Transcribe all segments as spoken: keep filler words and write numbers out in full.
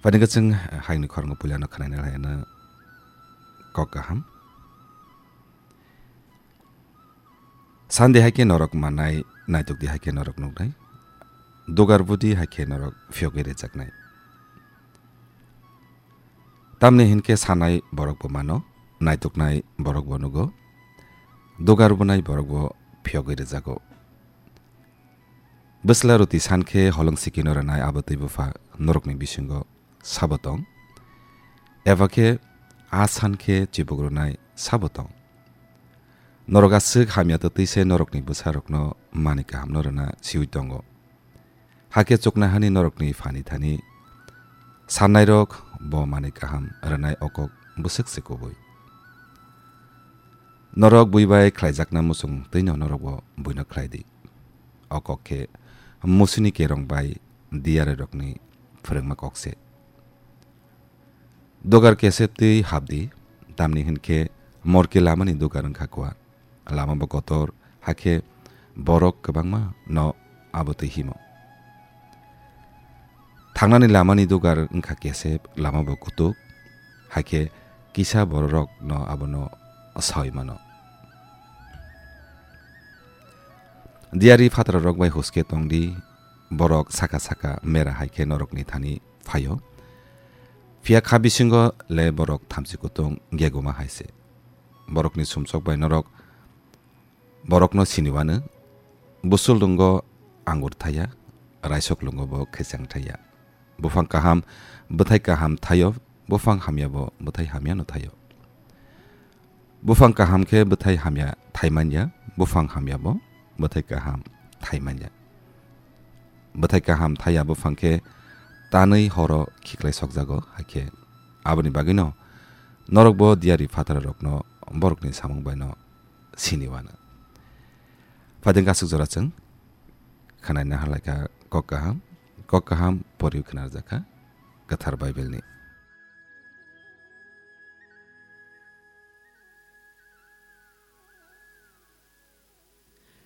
Phaidi khe chwng, eh, hayungni khorang puilano khwnaina laina kok kaham. Sandi hai khe norok manai, naitukdi hai khe norok nuknai, dugar budi hai khe norok phiyogwi rwjaknai. Tamni hinkhe sanai borok bo mano, naituknai borok bo nugo, dugar bunai borok bo phiyogwi rwjago. Bwsla roti san khe holong sikino rwnai abo twi bupha norokni bisingo sabo tong? Eba khe a san khe chibuk rwnai sabo tong? Norok aswk hamya twtwi se norokni bwsarokno manwi kahamno rwna siwi tongo. Hakhe chuknohani norokni phani thani sannairok bo manwi kaham rwnai o kok bwswk se kubui. Norok bui bai khlaijakna muchung twino norok bo buino khlai di. O kok khe musuni kerong bai diyarirokni phwrwngma kok se. Dugar kesep twi hap di, tamni hinkhe morke lamani dugar wngkha kuar. Lama bo kotor, hakhe borok kwbangma no abo twi himo. Thangnani lamani dugar wngkha kesep, lama bo kutuk, hakhe kisa bororok no abono sawi mano. Diyari phatrarok bai huske tong di, borok saka saka mera hai khe norokni thani phaio. Phiya kha bisingo le borok thamchi kutung geguma hai se. Borokni sumsok bai norok borokno sini wano. Busul lungo angur thaya, raisok lungo bo kheseng thaya. Buphang kaham, bwthai kaham thaio, buphang hamya bo bwthai hamya no thaio. Buphang kaham khe bwthai hamya thai manya, buphang hamya bo bwthai kaham thai manya. Bwthai kaham thaya buphang khe tanwi horo khiklai sokjago, hakhe aboni bagwino norok bo diyari phatararokno borokni samung baino sini wano. Phaideng aswk jora chwng khwnaina halaikha kok kaham, kok kaham poriwi khwnarjakha Kwthar Bible ni.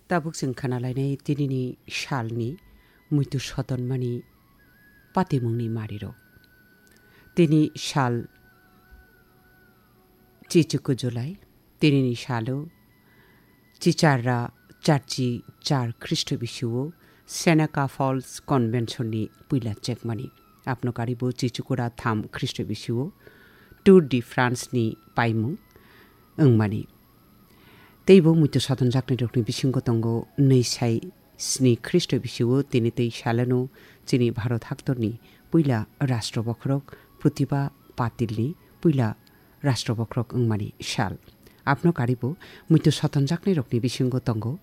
Tabuk chwng khwnalainai tinini salni muitu sotonmani patimungni marirok. Tini sal chichuku July, tinini salo chicharra charchi char Khristo bisio Seneca Falls Convention ni puila chekmani. Apno karibo chichukura tham Khristo bisio Tour de France ni paimung wngmani. Teibo muitu sotonjaknairokni bisingo tongo nwi sai sni Khristo bisio tini tei salano chini Bharat haktorni puila rashtra bokhorok Pratibha Patilni puila rashtra bokhorok wngmani sal. Apno karibo muitu sotonjaknairokni bisingo tongo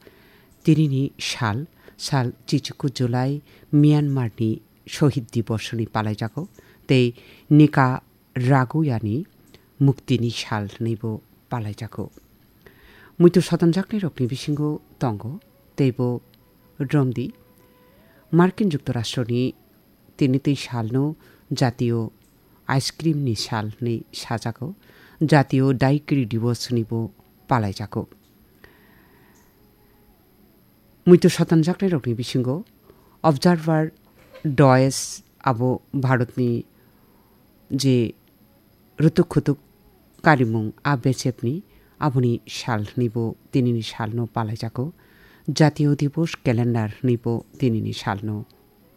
tinini sal, sal chichuku July Myanmarni Shohid Dibosni palaijago tei Nika Raguyani muktini sal hwnwibo palaijago. Muitu sotonjaknairokni bisingo tongo teibo romdi Markin Juktorashtroni tini tei salno jatiyo ice cream ni sal hwnwi sajago, jatiyo Daiquiri Diwos hwnwibo palaijago. Muitu sotonjaknairokni bisingo Observer Does abo Bharatni je rutuk khutuk karimung a bechepni aboni sal hwnwibo tinini salno palaijago, Jatiyo Dibos Calendar hwnwibo tinini salno